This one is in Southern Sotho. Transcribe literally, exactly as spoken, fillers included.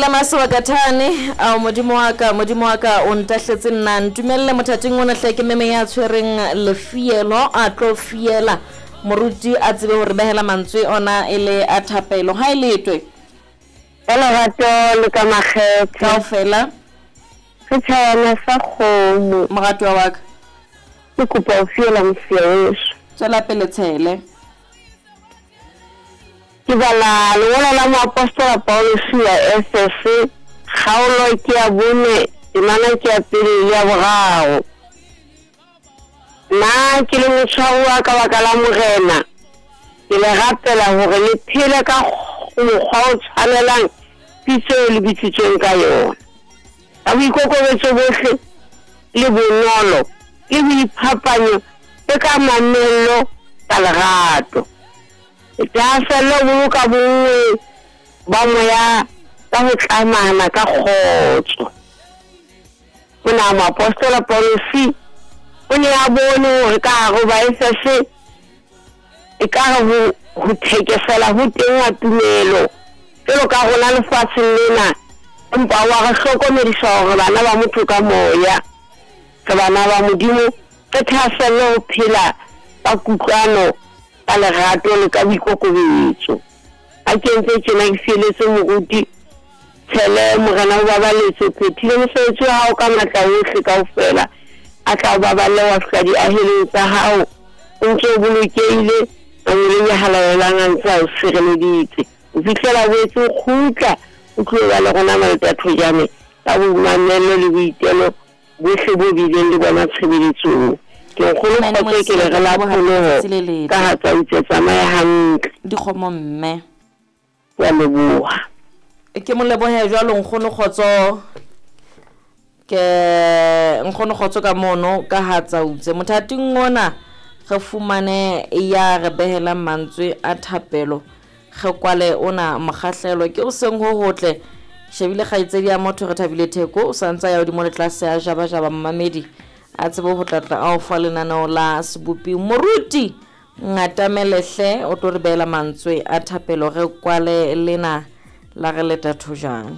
Ka masebakathane ao modimo wa ka, modimo wa ka o ntahletse nna. Ntumelle mothating ona hle ke meme ya tshwereng lefielo a tlo fiela moruti a tsebe hore behela mantswe ona e le a thapelo. Ha e letwe Ka lerato le ka makgethe kaofela re tjhayana sa kgomo. Moratuwa wa ka, Ke kopa ho fiela mosia weso. Tswela pele tshele. Ke bala lengolo la moapostola Paulus ya Efese, kgaolo ke ya bone, temana ke ya pele le ya boraro. Nna ke le motshwaruwa ka baka la Morena, ke le rapela hore le phele ka mokgwa o tshwanelang pitso eo le bitsitsweng ka yona. Ka boikokobetso bohle le bonolo le boiphapanyo le ka mamello ka lerato. Thahasello ho boloka bonngwe ba moya ka ho tlamana ka kgotso. Mona moapostola Paulus o ne a bone hore ka hare ho Baefese ekare ho ho thekesela ho teng ha tumelo jwalo ka rona lefatsheng lena, empa wa re hlokomedisa hore bana ba motho ka moya, re bana ba Modimo, re thahaselle ho phela ka kutlwano, ka lerato le ka boikokobetso. Ha ke entse tjena ke fieletse moruti Tshele, Morena o babaletse, o phethile mosebetsi wa hao ka matla ohle kaofela, a tla o baballe wa fihla diahelong tsa hao o ntse o bolokehile, mangoleng a halalelang a ntse a o sireleditse ho fihlela o boetse o kgutla o tlo ba le rona Maleta Thojane ka boimamello le boitelo bohle bo bileng le bona tshebeletsong. Ke nkgono Amen, kgotso ke le re la Mosia, ke leboha pholoho letsatsi le letle. ka ha tsa utse tsamaya hantle. Dikgomo mme. Ke a leboha. Ke mo lebohe jwalo nkgono kgotso, ke nkgono kgotso ka mono ka ha tsautse. Mothating ona re fumane ya re behelang mantswe a thapelo, re kwale ona mokgahlelo ke o seng ho hotle. Shebile kgaitsedi ya motho re thabile Theko o santsa ya hodimo le tlase ya jabajaba mmamedi a tsebe ho tlatla a o fa lenaneo la sebopi. Moruti ngatamelehle o tlo re behela mantswe a thapelo, re kwale lena la re leta thojane.